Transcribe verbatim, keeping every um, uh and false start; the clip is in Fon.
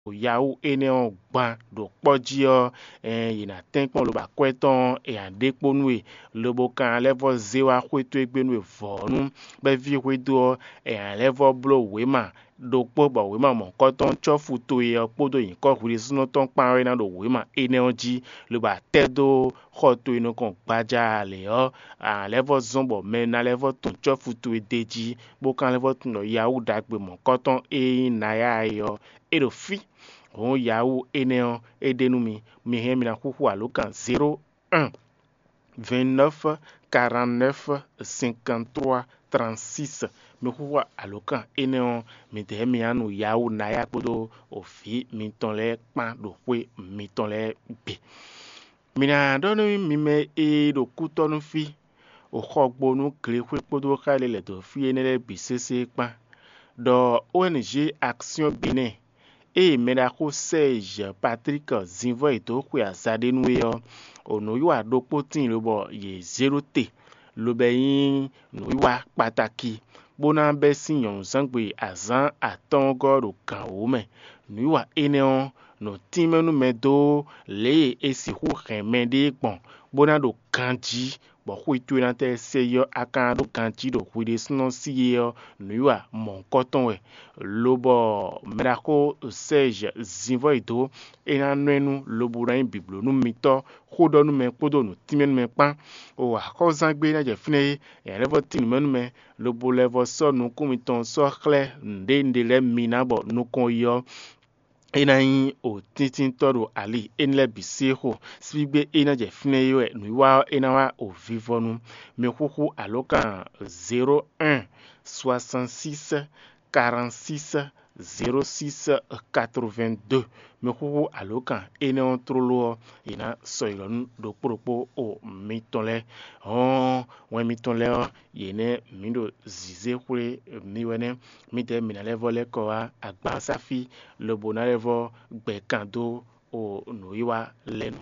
Yahoo énɛ́ ɔ́ gban ɖo kpɔ́ jí ɔ́, yě ná tɛ́nkpɔ́n lobo akwɛ́ tɔn ɔ́, è nǎ ɖe kpó nú we, lobo kan lɛ́ vɔ́ zé wá xwé towe gbe nú we vɔ̌nu, bɔ é ví xwedó ɔ́, è nǎ lɛ́ vɔ́ bló wěma ɖokpó bɔ wěma mɔ̌hunkɔtɔn cɔ́fu towe ɔ́ kpódó nyǐkɔ hwi ɖésúnɔ tɔn kpán ɔ́ é ná ɖo wěma énɛ́ ɔ́ jí, lobo atɛ́ dó xɔ towe nukɔn gbaja lě ɔ́, a nǎ lɛ́ vɔ́ zɔ́n bɔ mɛ ná lɛ́ vɔ́ tunwun cɔ́fu towe d'é jí, bó ka lɛ́ vɔ́ tunwun ɖɔ Yahoo ɖagbe mɔ̌hunkɔtɔn e nyí Naya é ɔ́, é ɖo fí. Hǔn Yahoo énɛ́ ɔ́, é ɖe nú mi. Mi hɛn mi ná xúxú alǒkan zéro un vingt-neuf quarante-neuf cinquante-trois trente-six. Mi xúxú alǒkan énɛ́ ɔ́, mi dɛ̌ mi ná nu Yahoo Naya kpódó vǐ mitɔn lɛ́ɛ kpán ɖo xwé mitɔn lɛ́ɛ gbe. Mi ná ɖɔ nú mi mɛ e ɖo kútɔ́ nú fí, o xɔgbo nú glexwé kpódó xá e lɛ́ lɛ̌ dó fí énɛ́ lɛ́ɛ bǐ sésé kpán, ɖɔ O N G Action Benin ée mɛɖaxó Serge Patrick zǐnvɔ́ yě dó xwe azǎ ɖé nú é ɔ́, o nǔwiwa ɖokpó tíin lobɔ yě zé ɖó te, lobɔ é nyí nǔwiwa kpataki, bó ná bɛ́ sín nyɔ̌nuzángbe azǎn atɔ́ɔ́ngɔ́ ɖo gǎn wǒ mɛ. Nǔwiwa énɛ́ ɔ́, nǔ tínmɛ nú mɛ dó lě e è sixú hɛn mɛɖée gbɔn, bó ná ɖo ganjí, bɔ xwé towe ná tɛ́ sɛ yi ɔ́, a ka ná ɖó ganjí ɖo hwi ɖésúnɔ sí é ɔ́, nǔwiwa mɔ̌hunkɔtɔn wɛ. Lobɔ mɛɖaxó Serge zǐnvɔ́ yi dó, é ná nɔ ɛ nú lobo ná nyí bǐbló nú mitɔ́, xó ɖɔ nú mɛ kpódó nǔ tínmɛ nú mɛ kpán. O axɔ́zán gbe ná jɛ fínɛ́ é, è nǎ lɛ́ vɔ́ tín nǔ mɛ nú mɛ, lobo lɛ́ vɔ́ sɔ́ nukún mitɔn sɔ́ xlɛ́ nǔɖé nǔɖé lɛ́ɛ mi ná bɔ nukɔn yi ɔ́, é ná nyí o tíntínntɔ́ ɖo ali énɛ́ lɛ́ɛ bǐ sí xo. Síbígbé e ná jɛ fínɛ́ é wɛ nǔwiwa ɔ́ é ná wá o vivɔnu. Mi xúxú alǒkan zéro un soixante-six quarante-six zéro six quatre-vingt-deux. Mi xúxú alǒkan énɛ́ ɔ́ tlóló ɔ́, è nǎ sɔ́ yi lɔ nú ɖokpó ɖokpó o mitɔn lɛ́ɛ. Hɔn wɛn mitɔn lɛ́ɛ ɔ́, yě nɛ́ mǐ ɖo zǐzé xwlé mi wɛ nɛ́. Mǐdɛɛ mǐ ná lɛ́ vɔ́ lɛ́ kɔ wá agbansáfí, lobo ná lɛ́ vɔ́ gbɛ kan dó o nǔwiwa lɛ́ɛ nu.